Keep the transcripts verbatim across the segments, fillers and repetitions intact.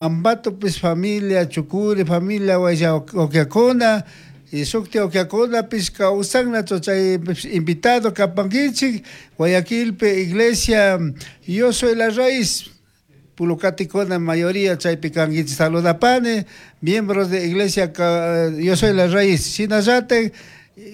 Ambatopis familia, Chucuri familia, Guayaquiacuna, y shukti ukiakunapis kawsannachu chay invitado kapankichik Guayaquilpi iglesia Yo Soy la Raíz pulucaticuna mayoría chaypi kankichik saludapani miembros de iglesia Yo Soy la Raíz shinallatik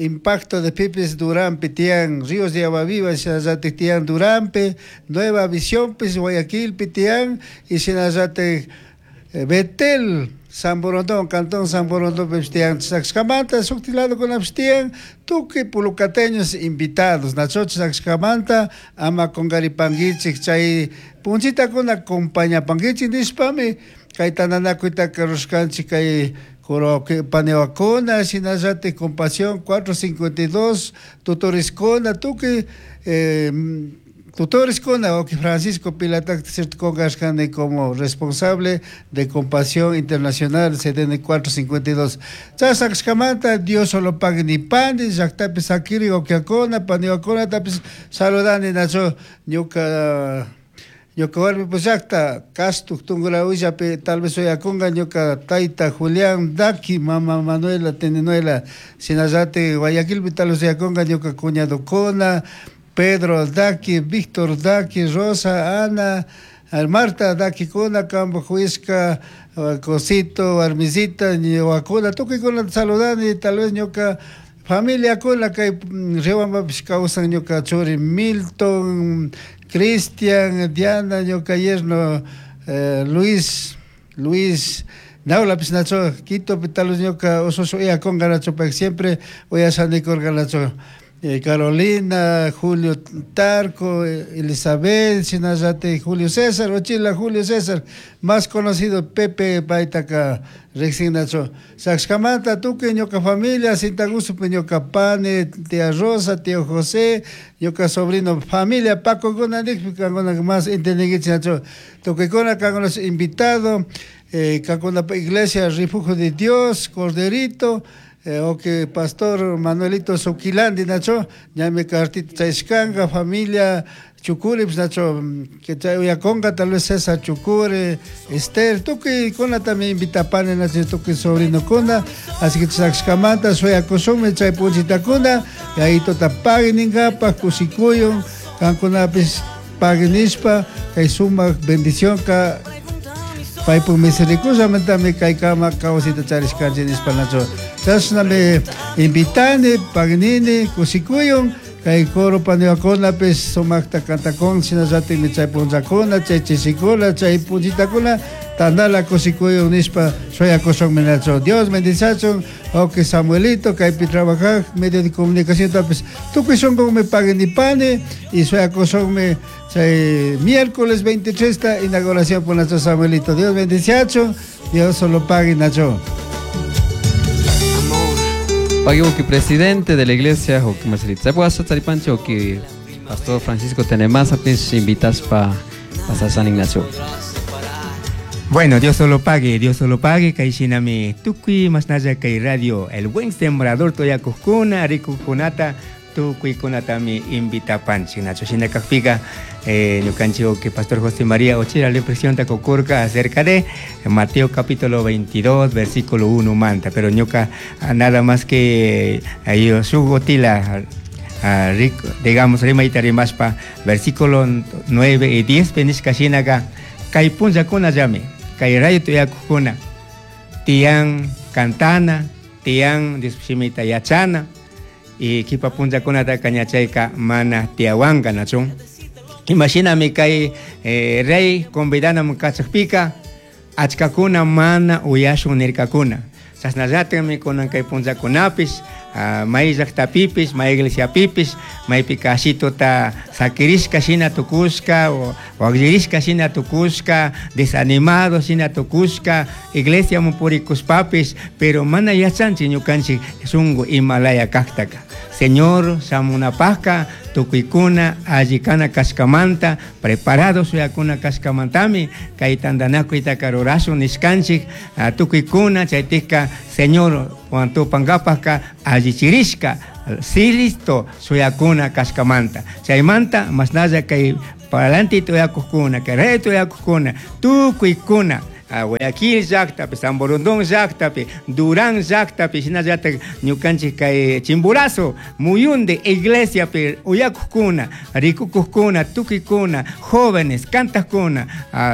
impacto de pipis Duranpi tiyan Ríos de Agua Viva shinallatik tiyan Duranpi Nueva Visiónpis Guayaquilpi tiyan y shinallatik Betel San Borondón, Cantón San Borondón tiyan chashkamanta shuktik ladokunapish tiyan tukuy pulucateños invitados nacho chashkamanta ama kunkaripankichik chay punchitakuna acompañapankichik nishpami kay tantanakuytaka rurashkanchik kay paniwakuna shinallatik Compasión cuatro cincuenta y dos tutoriskuna tukuy eh, tutoriskuna wawki Francisco Pilatak cierto kunkashkani como responsable de Compasión Internacional C D N cuatro cincuenta y dos chashkamanta Dios solo pague nipani llaktapi sakiri wawkiakuna paniwakunatapis saludani nacho ñuka ñuka warmi llakta Castuk Tungurahuillapi tal vez uyakunga ñuka tayta Julián Daki mama Manuela Tenenuela shinallatik Guayaquilpi tal vez uyakunga ñuka cuñadokuna Pedro Daki, Víctor Daki, Rosa, Ana, Marta Daki kuna, Campo Huisca, Cosito, Armisita, Ñuakuna, tukuykuna saludani, tal vez ñuka familia kuna kay Riobambapish kawsan ñuka churi Milton, Cristian, Diana, ñuka yerno eh, Luis, Luis Naulapis nacho, Quito, tal vez ñuka ususu uyakunga nacho, pay siempre uyasanikurka nacho. Eh, Carolina, Julio Tarco, Elizabeth, shinallati Julio César, Ochila Julio César, más conocido Pepe Baitaka, riqsinacho. Saxcamanta, tukuy ñuka familia, Sintagusupi ñuka pani, tía Rosa, tío José, ñuka sobrino, familia, Paco kuna nikpi, kankuna más entendinkichik nacho. Tukuykuna kankuna invitado, eh, kankuna iglesia, Refugio de Dios, Corderito, Eh, o que pastor Manuelito Suquilandi, nacho, ñame cartita chaishkanga, familia Chucuri, pues, nacho, que chay uyaconga, tal vez César Chucuri, Esther, tukuy kuna también invitapane, nacho, tukuy sobrino kuna, así que chaxcamanta, suyakusume, chay punchitakuna, y ahí tota paguen ningapa, kusikuyon, kankunapis paguen nishpa, kay suma bendición ka, paypuk misericordiamantami kaykama kawsayta charishkanchik nishpa nacho. Chashnami invitani, pagnini, kushikuyun, kay coro paniwakunapis sumakta kantakun, shinallatikmi chay punllakuna, chay chishikuna, chay punchitakuna, tandala kushikuyun nishpa shuyakushunmi nacho. Dios bendiciachun, ok Samuelito, kaypi trabajaj, medio de comunicación tapis, tukuy shunkunmi pagnipani, y shuyakushunmi chay miércoles veintitrés ta inauguración por nuestro Samuelito. Dios bendiciachun, Dios solo pague nacho. Pague que presidente de la iglesia, o que Marcelito se puede hacer Tzaripancho, o que pastor Francisco Tenemasa, pues invitas pa pasar San Ignacio. Bueno, Dios solo pague, Dios solo pague, kaishinami tukuy masnaya kay radio, el buen sembrador toya kuskuna, rikukunata, tukuy kunatami invita panchi, nacho shina kakpiga, eh, ñukanchi o que pastor José María Ochira le presión kokurka acerca de Mateo capítulo veintidós, versículo uno manta, pero ñuka nada más que ahí sugotila, ah, rico, digamos, rimaita rimaspa, versículo nueve y diez, penishka shinaga, kay punlla kuna llame, kay rayo tuyakukuna, tian cantana, tian dispshimita yachana, y kipa punlla kunata kañachayka mana tiawanka nachun. Imagíname kay, eh, rey convidana mukachakpika, achkakuna mana uyashun nirkakuna. Chasnallatami kunan kay punllakunapis, ah, may llaqtapipis, may iglesiapipis, maypi kashituta sakirishka shina tukushka, o waklirishka shina tukushka, desanimado shina tukushka, iglesia mupurikushpapis, pero mana yachanchik ñukanchik shunku imalaya kaktaka. Señor, shamunapajka, tukuykuna, allikana kashkamanta, preparado suyakuna kashkamantami, kay tantanakuytaka rurashun nishkanchik, ah, tukuykuna, chaytikka, Señor, tupankapajka, allichirishka, sí listo, suyakuna kashkamanta. Chaymanta, masnalla kay palanti tuyakukuna, kay rey tuyakukuna, tukuykuna, Guayaquil llaqtapi, San Borondón llaqtapi, Durán llaqtapi, shinallatak ñukanchik kay Chimborazo muyundi iglesiapi uyakukuna, rikukukuna, tukikuna, jóvenes, kantakuna,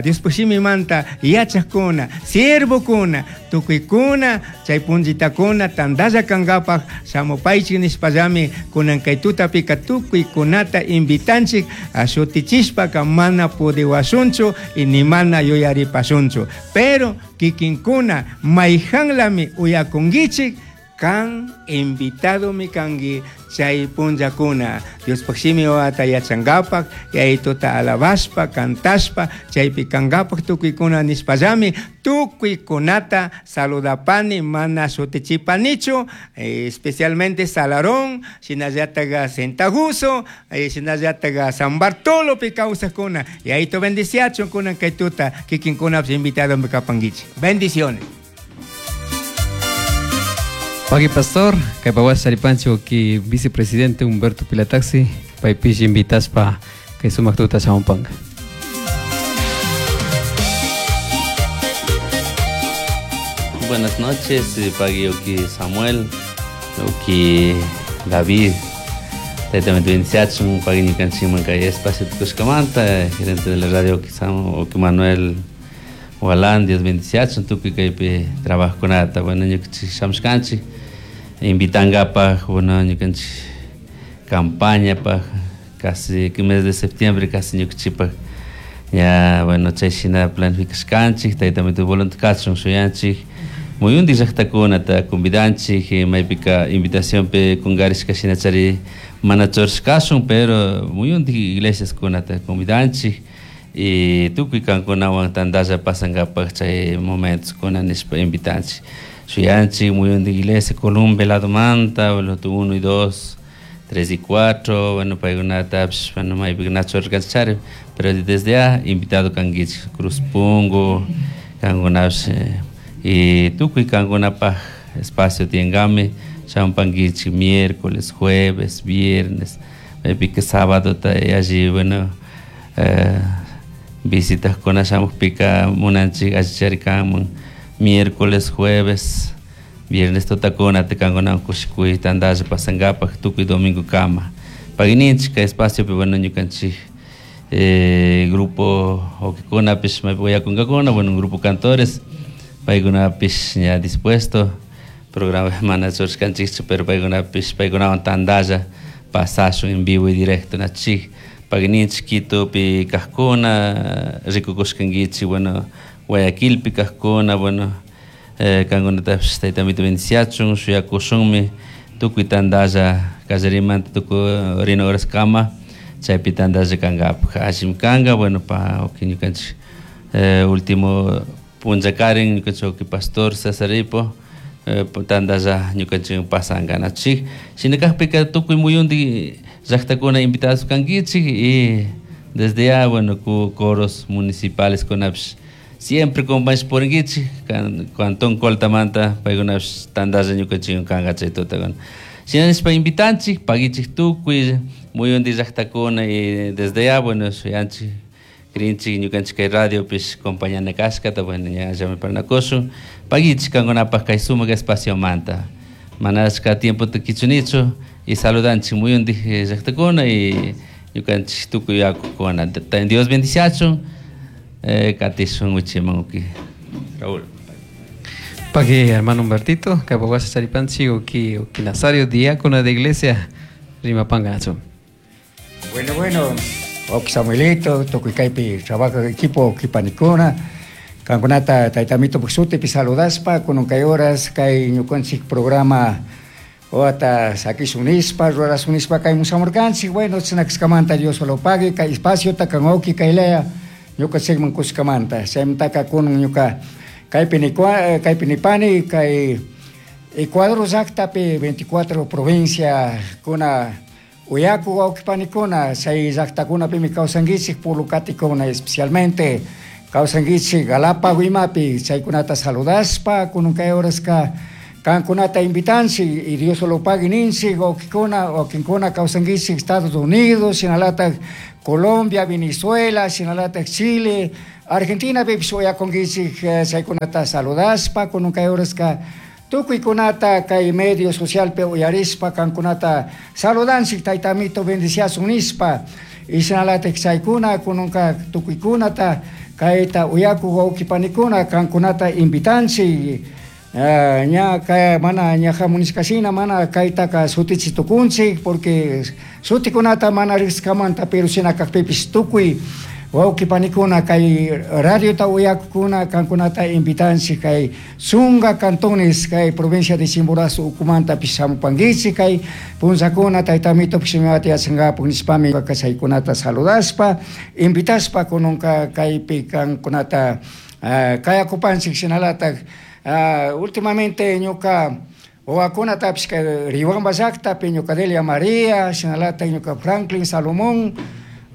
Diospaj shimimanta yachakuna, siervokuna, tukuykuna, chay punchitakuna tantalla kankapaj shamupaychik nishpallami kunan kay tutapika tukuykunata invitanchik shutichishpaka mana pudiwashunchu y ni mana yuyaripashunchu. Pero kikinkuna mayhanlami uyakunkichik kan invitado mi kanki chay punllakuna Diospaj shimi wawata yachankapak yayituta alabashpa kantashpa chaypi kankapak tukuykuna nishpallami tukuykunata saludapani mana shutichipanichu, especialmente Salarón, shinallatak Sentaguso, shinallatak San Bartolopi kawsakuna yayito bendiciachun kunan kay tuta kikinkunapish invitado mi kapankichik. Bendiciones. Paqui pastor, kay pawas charipanchik ki vicepresidente Humberto Pilataxi, paypish invitaspa kay sumaq tuta shamunpanka. Buenas noches, Paqui Oki Samuel, Oki David. Tayta bendiciachun, Paqui ñukanchikman kay espacio tukushkamanta, gerente de la radio Oki Samuel, Oki Manuel Walán, Dios bendiciachun, tukuy kaypi trabajokunata. Bueno, ñukanchik shamushkanchik invitankapaj, bueno, ñukanchik campañapaj, casi que mes de septiembre casi ñukanchikpaj ya, bueno, chay shina planificashkanchik, taytamito voluntad shuyanchik muyundik llaqtakunata convidanchik, maypika invitacionpi kunkarishka shinachari mana churashkashun, pero muyundik iglesiaskunata convidanchik y tukuy kankunawan tantalla pasankapaj chay momentoskuna nishpa invitanchik. Shuyanchik muyundik iglesia Colombia ladomanta, bueno, uno y dos, tres y cuatro, bueno, paykunatapish, bueno, maypika na churashkanchik chari, pero desde ya invitado kankichik Cruz Pungo, kankunapish y tukuy kankunapaj espacio tiyankami, shamunpankichik miércoles, jueves, viernes, maypika sábado ta alli, bueno, eh, visitas shamukpika munanchik allichari kanman miércoles, jueves, viernes tutakuna kankunawan kushikuy tantalla pasankapaj tukuy domingo kama. Pagininchik kay espaciopi, bueno, ñukanchik eh, grupo okikunapish maypi uyakunkakuna, bueno, un grupo cantores, paykunapish ña dispuesto, programa mana churashkanchikchu, pero paykunapish paykunawan tantalla pasashun en vivo y directo nachik. Pagininchik Quitopi kajkuna, rikukushkankichik, bueno, Guayaquilpi kajkuna, bueno, eh, kankunatapish taytamito bendiciachun, shuyakushunmi, tukuy tantalla kallarimanta tukuy rina horaskama, chaypi tantalla kankapaj, allimi kanka, bueno, pa uki ñukanchik eh, último punllakarin ñukanchik uki pastor César Ipo, eh, tantalla ñukanchik pasanka nachik. Shinakajpika tukuy muyundik llaqtakuna invitados kankichik y desde ya, bueno, ku coros municipales kunapish siempre compañeros purinkichik, cantón Coltamanta, paykunapish tantalla ñukanchik kanka chay tutakuna. Shinashpa invitanchik, pagichik tukuy muyundik llaqtakuna y desde ya, bueno, shuyanchik, krinchik ñukanchik kay radiopish compañana kashkata, bueno, ña llami parnakushun, pagichik kankunapaj kay sumak espaciomanta. Mana achka tiempota kichunichu y saludanchik muyundik llaqtakuna y ñukanchik tukuy yakukuna. Dios bendiciachun, eh, katishun wichiman uki. Raúl. Paqui hermano Humbertito, kay pawas charipanchik uki uki Nazario, diácono de iglesia, Rimapanga nacho. Bueno, bueno, oki Samuelito, tukuy kaypi trabaja equipo uki panikuna, kankunata taytamito sutipi saludaspa, kunan kay horas kay ñukanchik programa wata sakishun nishpa, rurashun nishpa kay mushamurkanchik, bueno, chinakishkamanta Dios lo pague, kay espaciota kan uki kay lea, ñukanchikman kushkamanta, chaymantaka kunan ñuka kaypi kaypi nipani, kay Ecuador llaqtapi veinticuatro provincia kuna uyaku wawqipanikuna, chay llaqtakunapimi kawsankichik pulukatikuna especialmente kawsankichik Galápago imapi, chaykunata saludaspa kunan kay horaska Kankunata invitanchik y Dios lo pague ninchik wawkikuna wakinkuna kawsankichik Estados Unidos, shinalatak Colombia, Venezuela, shinalatak Chile, Argentina pipish uyakunkichik chaykunata saludashpa kunan kay horaska tukuykunata kay medio socialpi uyarishpa kankunata saludanchik tayta amito bendiciasun nishpa y shinalatak chaykuna kunanka tukuykunata kayta uyakuk wawkipanikuna kankunata invitanchik. Uh, ña kay mana ña hamunishkashina mana kaytaka shutichi tukunchik porque shutikunata mana riqskamanta pero shina kakpipish tukuy wawkipanikuna kay radiota uyakukuna kankunata invitanchik kay chunka cantones kay provincia de Chimborazo ukumantapish shamupankichik kay punllakuna tayta amitopish shimita yachankapak nishpami chaykunata saludashpa invitashpa kunanka kaypi kankunata uh, kayakupanchik shinalatak. Uh, últimamente ñuka wawakunatapish kay Riobamba llaktapi ñuka Delia María, shinalatak ñuka Franklin Salomón,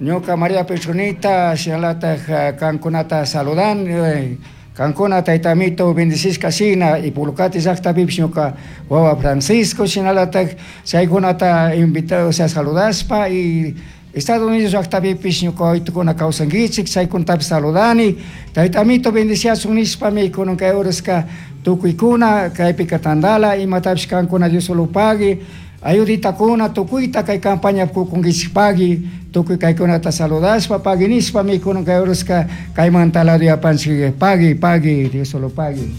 ñuka María Petronita, shinalatak uh, kankunata saludan, eh, kankuna tayta amito bendicishka shina y Pulcati llaktapipish ñuka wawa Francisco, shinalatak chaykunata invitado, o sea, saludashpa y Estados Unidos llaktapipish ñuka wawaytukuna kawsankichik chaykunatapish saludani tayta amito bendiciasun nishpami kunan kay horaska tukuykuna kaypika tandala imatapish kankuna Dios solo pague ayuditakuna tukuyta kay campaña kukunkichik pagui tukuy kaykunata saludashpa pagui nishpami kunan kay horaska kaymanta lado yapanchik pagui pagui Dios solo pague.